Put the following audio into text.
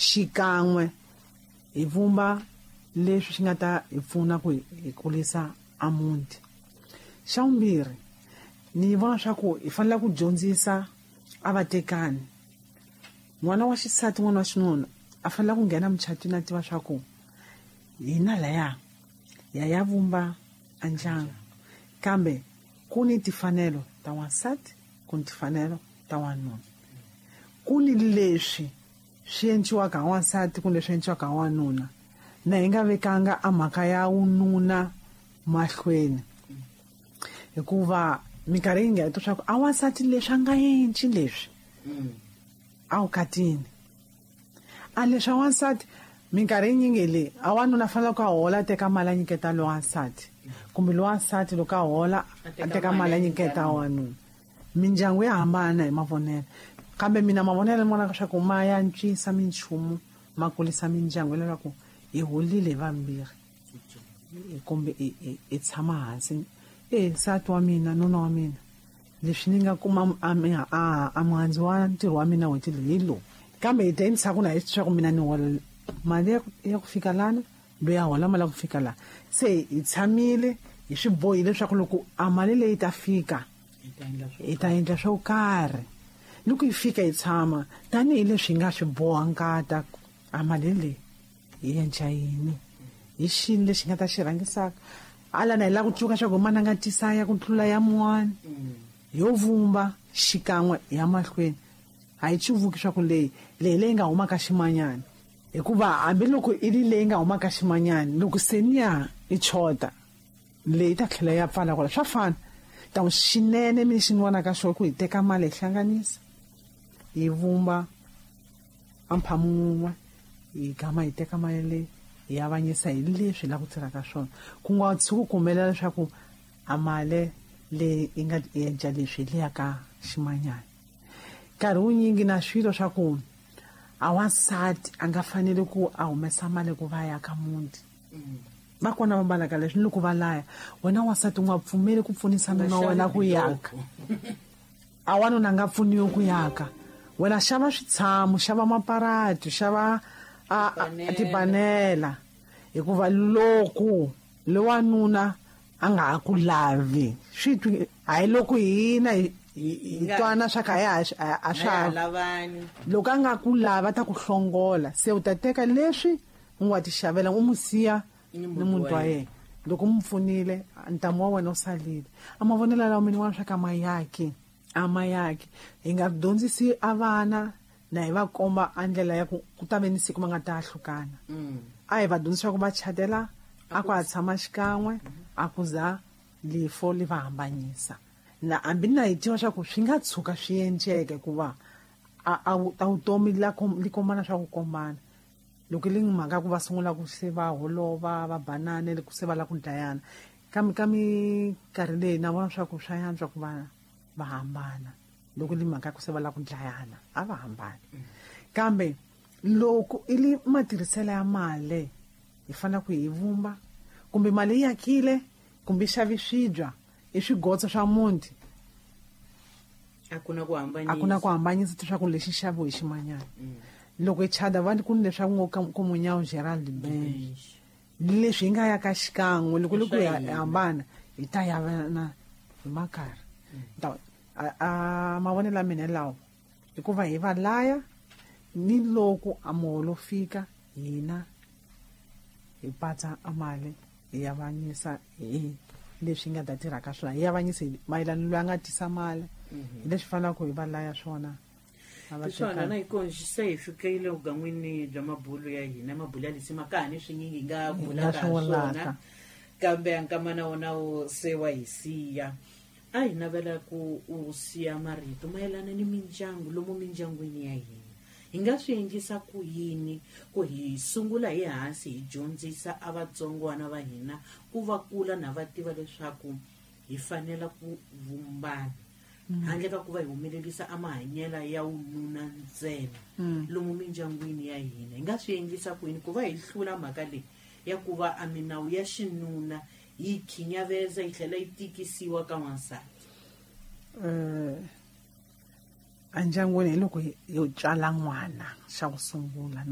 Xikan'we hi vumba leswi swi nga ta hi pfuna ku hi kulisa a muti. Xa vumbirhi, ni vona swa ku hi fanele ku dyondzisa a vatekani. N'wana wa xisati, n'wana wa xinuna a fanele ku nghena mucatwini a tiva swa ku hina laya ya ya vumba a ndyangu, kambe ku ni timfanelo ta wansati, ku ni timfanelo ta wanuna, ku ni leswi swi endliwaka hi wansati, ku ni leswi endliwaka hi wanuna. Na hi nga vekanga a mhaka ya wununa mahlweni, hikuva minkarhi yi nga twa swa ku a wansati leswi a nga endli leswi a wukatini, a leswi a wansati minkarhi yinyingi leyi a wanuna fanele ku a hola a teka mali a nyiketa lowa wansati, kumbe lowa wansati loko a hola a teka mali a nyiketa wanuna. Mindyangu ya hambana hi mavonelo, kambe mina mavonelo ni vonaka swa ku ma ya antswisa minchumu, ma kulisa mindyangu, hileswaku hi holile hi vambirhi kumbe hi tshama hansi, e nsati wa mina, nuna wa mina, leswi ni nga kuma a muhandzu wa ntirho wa mina n'hweti leyi hi lowu, kambe hi ta ndzhaku na hi swa ku mina ni hola mali ya ku fika lana, loyi a hola mali ya ku fika laha. Se hi tshamile hi swi bohile leswaku loko a mali leyi ta fika hi ta endla swo karhi. Loko yi fika hi tshama tanihileswi hi nga swi boha nkata, a mali leyi hi endla yini, hi xini lexi nga ta xi rhangisaka ala na hi lava ku tsundzuka swa ku mana nga tisa ya ku tlula ya mun'wana, yo vumba xikan'we ya mahlweni. A hi cuvuki swa ku leyi leyi leyi nga humaka ximanyana, hikuva hambiloko i ri leyi nga humaka ximanyana, loko se niya i chota leyi ta tlhela ya pfala kwala, swa fana. Ta xinene mi xi ni vonaka xo ku hi teka mali hi hlanganisa hi vumba a mphamu wun'we, hi gama hi teka mali leyi hi avanyisa hi leswi hi lava ku tirhaka swona, ku nga tshuki ku humelela leswaku a mali leyi yi nga endla leswi hi leya ka ximanyana. Nkarhi wunyingi na swilo swa ku a wansati a nga fanele ku a humesa mali ku va ya ka muti, va kona va mbalaka leswi ni loko va laya wena wansati u nga pfumeli ku pfunisa nuna wa wena ku yaka, a wanuna a nga pfuniwi ku yaka. Wena xava switshamo, xava maparati, xava tipanela, hikuva loko lowanuna a nga ha ku lavi swi twi hayi loko hina hi twana swa ka ya a swa loko a nga ku lava ta ku hlongola, se u ta teka leswi u nga ti xavela u n'wi siya ni muntu wa yena. Loko u n'wi pfunile ntamu wa wena u salile. A mavonelo lawa mina wa swa ka mayaki, a mayaki hi nga dyondzisi a vana na hi va komba a ndlela ya ku ku ta ve ni siku va nga ta hlukana. A hi va dyondzisa ku va chatela a ku a tshama xikan'we, a ku za lifo li va hambanyisa. Na hambi na hi tiva swa ku swi nga tshuka swi endleke ku va a vutomi li kombana swa ku kombana. Loko li mhaka ku va sungula ku se va holova, va banane, ku se va lava ku dlayana, kambe ka minkarhi leyi na vona swa ku swa yantswa ku va hambana. Loko li mhaka ku se va lava ku dlayana, a va hambani. Kambe loko i li matirhiselo ya mali, hi fanele ku hi vumba, kumbe mali yi akile, kumbe yi xavi swibya, i swigotso swa muti. A ku na ku hambanyisa. A ku na ku hambanyisa leswaku lexi xaviwe hi ximanyana. Loko hi chada va ku ni leswaku ngo ka Munyawu Gerald Bench. Leswi hi nga ya ka xikan'we, loko loko hi hambana, hi ta ya na hi makarhi. Ta, a mavonelo ya mina lawa, hikuva hi va laya ni loko a muholo fika hina hi patsa a mali hi avanyisa hi leswi nga ta tirha ka swona, hi avanyisa hi mayelana loyi a nga tisa mali, hi leswi fanelaka hi va laya swona. A va Swona tekanga. na hi kona se hi fikile vugan'wini bya mabulu ya hina, mabulu ya lisima ka ha ni swinyingi hi nga Hi nga bulaka swi vulaka. swona, kambe nkamana wona wu se wa hi siya. A hi navela ku u siya marito mayelana ni mindyangu lomu mindyangwini ya hina. Hi nga swi endlisa ku yini ku hi sungula hi hansi hi dyondzisa a vatsongwana va hina ku va kula na va tiva leswaku hi fanela ku vumbana, handle ka ku va hi humelerisa a mahanyelo ya wununa ntsena lomu mindyangwini ya hina. Hi nga swi endlisa ku yini ku va hi hlula mhaka leyi ya ku va a minawu ya xinuna yi khinyaveza yi tlhela yi tikisiwa ka wansati? Endyangwini hi loko hi tswala n'wana xa ku sungula na